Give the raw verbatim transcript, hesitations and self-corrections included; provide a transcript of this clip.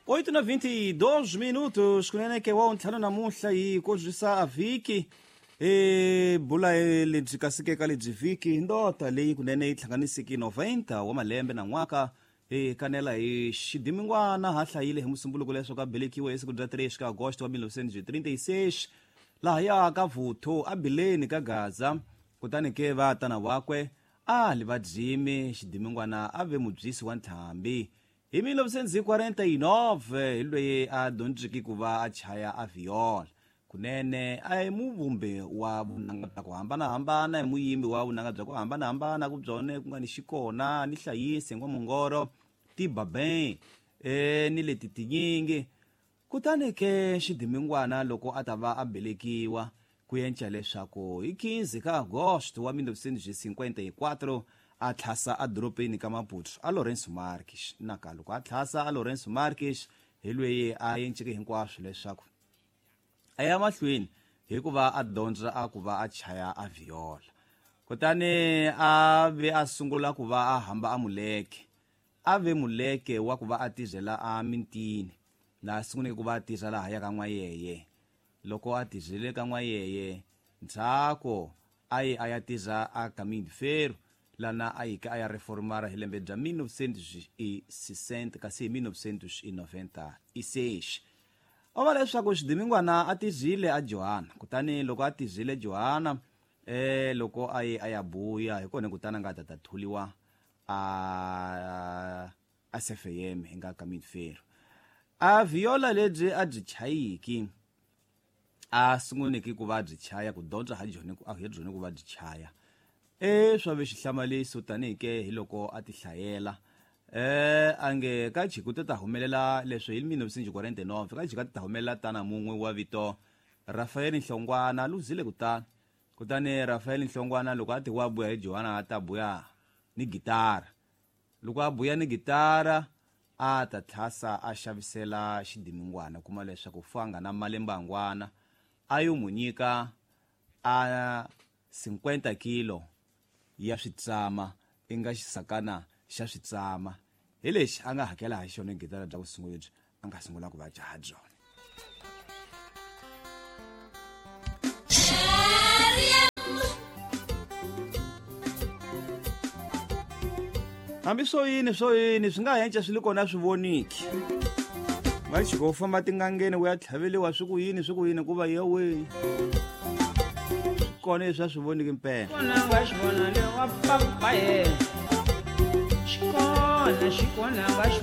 Oito na vinte e dois minutos kunene ke wa ntlhanu namuntlha hi kodzisa a vhiki e bula lebyi kasike ka lebyi vhiki ndota leyi kunene yi hlanganisiki noventa wa malembe na n'waka e kanela hi xidimingwana ha hlayile hi musumbuluko leswaku a belekiwe hi siku bya três ka agosto wa mil novecentos e trinta e seis laha ya ka Vuthu a Bileni ka Gaza. Kutani ke va tana wakwe a li va dzime xidimingwana a ve mubyisi wa ntlhambi. Hi mil novecentos e quarenta e nove hi loyi a dyondziki ku va a chaya a viola. Kunene a hi muvumbi wa vunanga bya ku hambanahambana, hi muyimbi wa vunanga bya ku hambanahambana ku byone ku nga ni xikona ni hlayisi n'wamungoro tibabeng e ni leti tinyingi. Kutani ke xidimingwana loko a ta va a belekiwa ku yenca leswaku hi quinze ka agosto wa mil novecentos e cinquenta e quatro a tlhasa a doropeni ka Maputo a Lourenço Marques. Naka loko a tlhasa a Lourenço Marques hi loyi a yenceke hinkwaswo leswaku a ya mahlweni hikuva a dyondza a ku va a chaya a viola. Kutani a ve a sungula ku va a hamba a muleke, a ve muleke wa ku va a tirhela a mintini laha sunguleke ku va a tirha laha ya ka N'wayeye. Loko a tirhele ka N'wayeye ndzhaku a ye a ya tirha a Caminho de Ferro lana a yike a ya reformara hi lembe bya mil novecentos e sessenta kasi hi mil novecentos e noventa e seis. O va leswaku xidimingwana a tirhile a Johanna. Kutani loko a tirhile Johanna eh loko a ye a ya buya hi kona kutani a nga ta ta thuliwa a a C F M hi nga Caminho de Ferro. A viola lebyi a byi chayiki a sunguleke ku va byi chaya ku dyondza ha byona ku a hi byona ku va byi chaya e swa ve xihlamaliso tanihi ke hi loko a ti hlayela eh ange ka chikuta ta humelela leswi hi mil novecentos e quarenta e nove ka chikuta ta humelela tana mun'we wa vito Rafael Nhlongwana luzile kutani. Kutani Rafael Nhlongwana loko a ti wa buya hi Johanna a ta buya ni gitara. Loko a buya ni gitara a ta tlhasa a xavisela xidimingwana kuma leswaku fanga na malembangwana a yo mu nyika a cinquenta kilo ya switsama i nga xisakana xa switsama hi lexi a nga hakela ha xona gitara bya ku sungula lebyi a nga sungula ku va jaha byona. Hambi swo yini swo yini swi nga henca swi li kona swi voniki. Va chiko u famba tingangeni u ya tlhaveliwa swi ku yini swi ku yini ku va yewe kona leswi a swi voniki mpela. Xikona nga xi vona le wa papa ye. Xikona xikona nga xi